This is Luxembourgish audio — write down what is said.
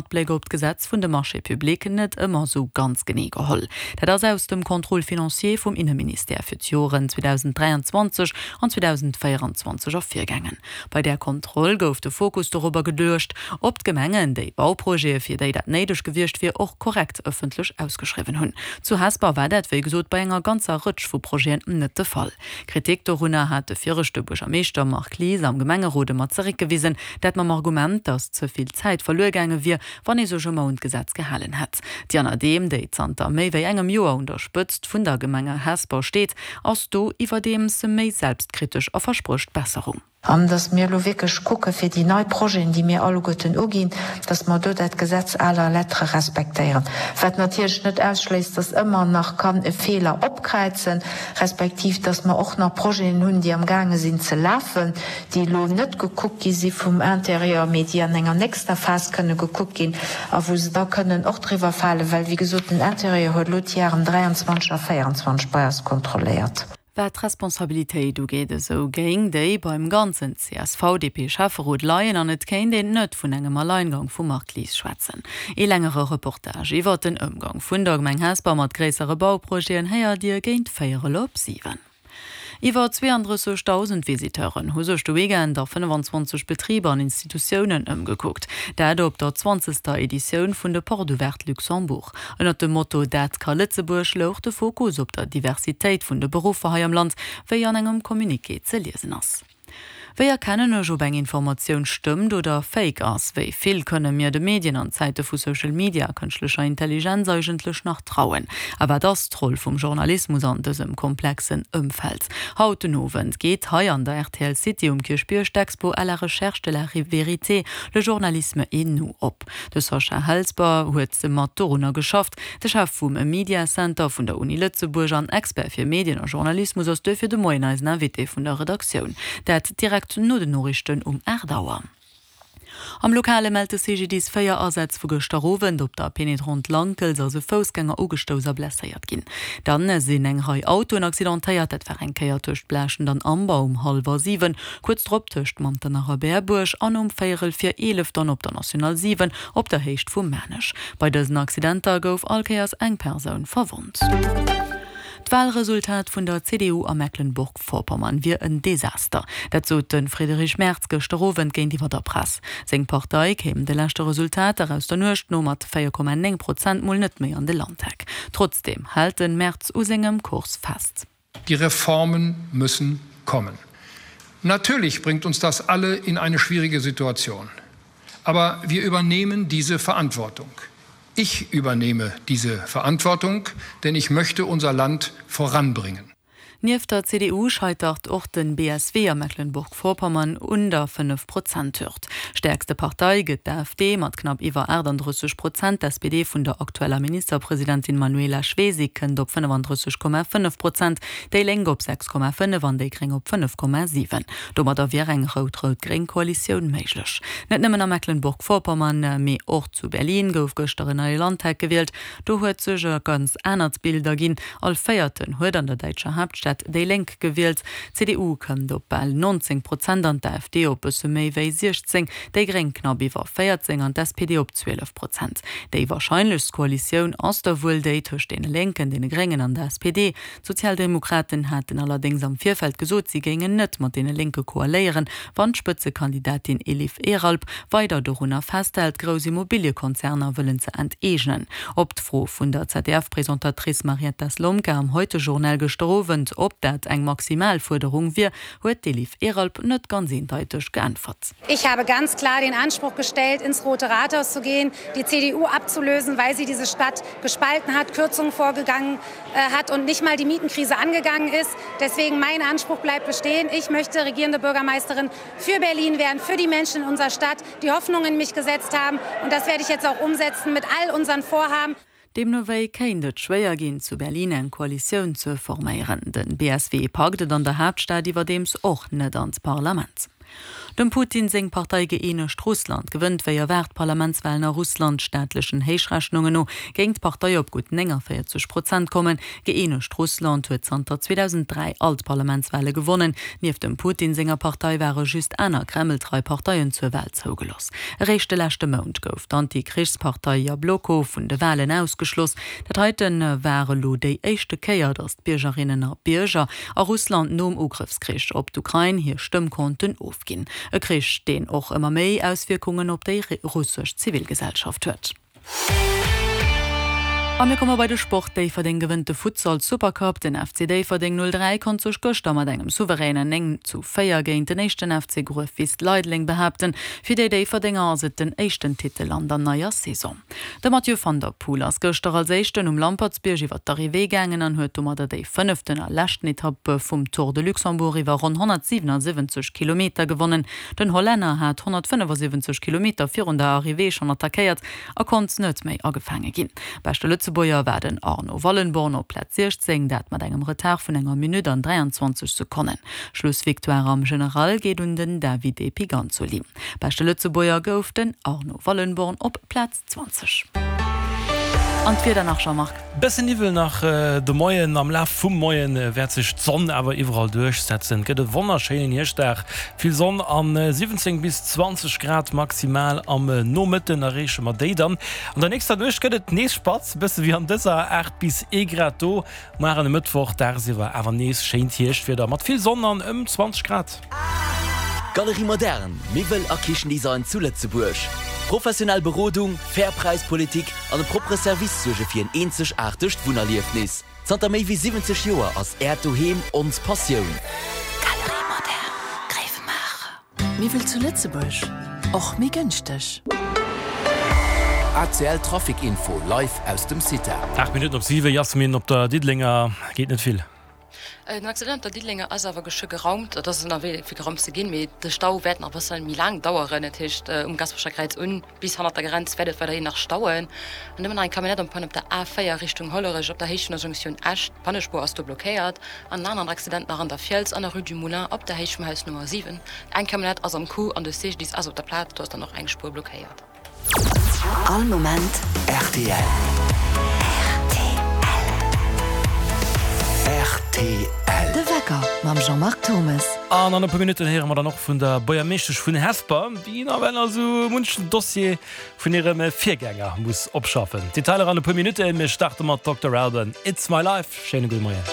Matbléck op d'Gesetz vun de Marchés publics net ëmmer esou ganz genee geholl. Dat ass aus dem Contrôle financier vum Inneministère fir d'Joren 2023 an 2024 ervirgaangen. Bei där Kontroll gouf de Fokus dorobber geluecht, ob d'Gemengen déi Bauprojete, fir déi dat néideg gewiescht wier, och korrekt ëffentlech ausgeschriwwen hunn. Zu Hesper war dat, wéi gesot, bei enger ganzer Rëtsch vu Projeten net de Fall. Kritik dorunner hat de viregte Buergermeeschter Marc Lies am Gemengerot ëmmer zeréckgewisen, dat mam Argument, datt ze vill Zäit verluer gaange wier, wann ee sech ëmmer un d'Gesetz gehalen hätt. D'Diana Dehm, déi zanter méi wéi engem Joer un der Spëtzt vun der Gemenge Hesper steet, ass do iwwerdeems méi selbstkritesch a versprécht Besserung. An dass mir elo wierklech kucke fir déi nei Projeten, déi mir alleguerten uginn, dass mer do dat Gesetz à la lettre respektéieren. Wat natierlech net ausschléisst, dass ëmmer nach kann e Feeler opkräizen, respektiv dass mer och nach Projeten hunn, déi amgaange sinn ze lafen, déi elo net gekuckt gi si vum Intérieur, mee déi an enger nächster Phas kënne gekuckt ginn a wou se da kënnen och driwwer falen, well, wéi gesot, den Intérieur huet elo d'Jaren 23 a 24 bei eis kontrolléiert. Wat d'Responsabilitéit ugeet, esou géing déi beim ganzen CSV-DP-Schäfferot leien an et kéint een net vun engem Alleingang vum Marc Lies schwätzen. Ee längere Reportage iwwert den Ëmgang vun der Gemeng Hesper mat gréissere Bauprojeten héiert Dir géint véierel op 7. Iwwer 32.000 Visiteuren hu sech de Weekend a 25 Betriber an Institutiounen ëmgekuckt. Dat op der zwanzegster Editioun vun de Portes Ouvertes Luxembourg. Ënnert dem Motto Dat ka Lëtzebuerg louch de Fokus op der Diversitéit vun de Beruffer hei am Land, wéi an engem Communiqué ze liesen ass. Wéi erkennen ech, ob eng Informatioun stëmmt oder fake ass? Wéi vill kënne mir de Medien an Zäite vu Social Media a kënschtlecher Intelligenz eigentlech nach trauen? A wat ass d'Roll vum Journalismus an dësem komplexen Ëmfeld? Haut den Owend geet hei an der rtl City um Kierchbierg d'Expo À la recherche de la vérité, le journalisme et nous op. De Sascha Helsper huet mat dorunner geschafft. De Chef vum Media Center vun der Uni Lëtzebuerg an Expert fir Medien a Journalismus ass duerfir de Moien eisen Invité vun der Redaktioun. Dat direkt no den Noriichten um 8 Auer. Am Lokale mellt de CGDIS 4 Asätz vu gëschter Owend. Op der Pénétrante Lankels ass e Foussgänger ugestouss a blesséiert ginn. Dann sinn eng Rei Autoen accidentéiert. Dat war eng Kéier tëscht Blaaschent an Amber um hallwer 7, Kuerz drop tëscht Manternach a Berbuerg an um véierel vir 11 dann op der National 7 op der Héicht vu Maarnech. Bei dësen Accidenter gouf all Kéiers eng Persoun verwonnt. D'Walresultat vun der CDU a Mecklenburg-Vorpommern wier en Desaster. Dat sot de Friedrich Merz gëschter Owend géintiwwer der Press. Seng Partei kéim de leschte Resultater aus der Nuecht no mat 4,9 Prozent mol net méi an de Landtag. Trotzdeem hält de Merz u sengem Kurs fest. Die Reformen müssen kommen. Natürlich bringt uns das alle in eine schwierige Situation. Aber wir übernehmen diese Verantwortung. Ich übernehme diese Verantwortung, denn ich möchte unser Land voranbringen. Nieft der CDU scheitert och den BSW a Mecklenburg-Vorpommern un der 5 Prozent-Hürd. Stäerkste Partei gëtt d'AfD mat knapp iwwer 38 Prozent. D'SPD vun der aktueller Ministerpresidentin Manuela Schwesig kënnt op 35,5 Prozent, déi Lénk op 6,5 an déi Gréng op 5,7. Domadder wier eng rout-rout-gréng Koalitioun méiglech. Net nëmmen a Mecklenburg-Vorpommern, mee och zu Berlin gouf gëschter en neie Landtag gewielt. Do huet sech e ganz anert Bild erginn, All Véierten huet an der däitscher Haaptstad déi Lénk gewielt. D'CDU kënnt op bal 19 Prozent an d'AfD op bësse méi wéi 16, déi Gréng knapp iwwer 14 an d'SPD op 12 Prozent. Déi warscheinlechst Koalitioun ass da wuel déi tëscht deene Lénken, deene Gréngen an der SPD. D'Sozialdemokraten haten allerdéngs am Virfeld gesot, si géingen net mat deene Lénke koaléieren, wann d'Spëtzekandidatin Elif Eralp weider dorunner festhält, grouss Immobiliekonzerner wëllen ze enteegnen. Op d'Fro vun der ZDF-Presentatrice Marietta Slomka am Heute-Journal gëschter Owend, ob dat eng maximal Fuerderung wier, huet d'Elif Eralp net ganz eendeiteg geäntwert. Ich habe ganz klar den Anspruch gestellt, ins Rote Rathaus zu gehen, die CDU abzulösen, weil sie diese Stadt gespalten hat, Kürzungen vorgegangen hat und nicht mal die Mietenkrise angegangen ist. Deswegen mein Anspruch bleibt bestehen. Ich möchte regierende Bürgermeisterin für Berlin werden, für die Menschen in unserer Stadt, die Hoffnung in mich gesetzt haben. Und das werde ich jetzt auch umsetzen mit all unseren Vorhaben. Deemno wéi kéint et schwéier ginn, zu Berlin eng Koalitioun ze forméieren. Den BSW packt et an der Haaptstad iwwerdeems och net an d'Parlament. Dem Putin seng Partei Gëeenegt Russland gewënnt wéi erwaart d'Parlamentswalen a Russland. Staatlechen Héichrechnungen no géing d'Partei op gutt 49 Prozent kommen. Gëeenegt Russland huet zanter 2003 all d'Parlamentswale gewonnen. Nieft dem Putin senger Partei ware just aner kremltrei Parteien zur Wal zougelooss. Eréischt de leschte Mount gouf d'Anti-Krichspartei Jabloko vun de Walen ausgeschloss. Dat heite war elo déi éischte Kéier, datt d'Biergerinnen a Bierger a Russland nom Ugrëffskrich op d'Ukrain hir Stëmm konnten ofginn. E Krich, deen och ëmmer méi Auswierkungen op déi russesch Zivilgesellschaft huet. A mir komme bei de Sport, Déifferdeng gewënnt de Futsal Supercup. Den FC Déifferdeng 03 konnt sech gëschter mat engem souveränen 9 zu 4 géint den éischten FC Gruef-Wis Leideleng behaapten. Fir déi Déifferdenger ass et den éischten Titel an der neier Saison. De Mathieu van der Poel ass gëschter als éischten um Lampertsbierg iwwer d'Arrivée gaangen an huet domadder déi fënneften a leschten Etapp vum Tour de Luxembourg iwwer ronn 177 Kilometer gewonnen. Den Hollänner hat 175 Kilometer virun der Arrivée schonn attackéiert a konnt net méi agefaange ginn. Beschte Lëtzebuerger war den Arno Wallenborn op Plaz 16, dat mat engem Retard vun enger Minutt an 23 Sekonnen. Schlussvictoire am General geet un den Davide Piganzoli. Beschte Lëtzebuerger gouf den Arno Wallenborn op Plaz 20. An d'Wieder nach, Jean-Marc? Bëssen Niwwel nach de Moien, am Laf vum Moien wäert sech d'Sonn awer iwwerall duerchsetzen. Et gëtt e wonnerschéinen Hierschtdag, vill Sonn an 17 bis 20 Grad maximal. Am Nomëtten erreeche mer déi dann. An der nächster Nuecht gëtt et nees spatz, bësse wéi an dëser, 8 bis ee Grad do. Muar an e Mëttwoch dagsiwwer awer nees schéint Hierschtwieder mat vill Sonn an ëm 20 Grad. Galerie Moderne, Miwwel a Kichendesign zu Lëtzebuerg. Professionell Berodung, fair Präispolitik an e proppere Service suerge fir en eenzegaartegt Wunnerliefnis. Zanter méi wéi 70 Joer ass Äert Doheem ons Passioun. Galerie Moderne, Gréiwemaacher. Miwwel zu Lëtzebuerg, och méi gënschteg. ACL Trafic Info live aus dem CITA. 8 Minutten op 7, Yasmin, op der Diddelenger geet net vill. Den Accident op der Diddelenger ass awer geschwë geraumt. Et ass ënnerwee fir geraumt ze ginn, mee de Stau wäert nach e bësse méi laang daueren. Dat heescht um Gasperecher Kräiz un bis hannert der Grenz wäert et weiderhin nach stauen. An ëmmer nach eng Camionnette en panne op der A4 Richtung Hollerech op der Héicht vun der Jonktioun Esch. D'Pannespuer ass do blockéiert. An en aneren Accident nach an der Fiels an der Rue du Moulin op der Héicht vum Haus Nummer 7. Eng Camionnette ass am Coup an de CGDIS ass op der Plaz. Do ass dann och eng Spuer blockéiert. All Moment rtl. Rtl. De Wecker mam Jean-Marc Thommes. An an e puer Minutten héiere mer dann och vun der Buergermeeschtesch vun Hesper, déi nawell nach esou munchen Dossier vun hirem Virgänger muss opschaffen. Detailer an e puer Minutten. Mir starte mat Dokter Alban, It's My Life. Schéine gudde Moien.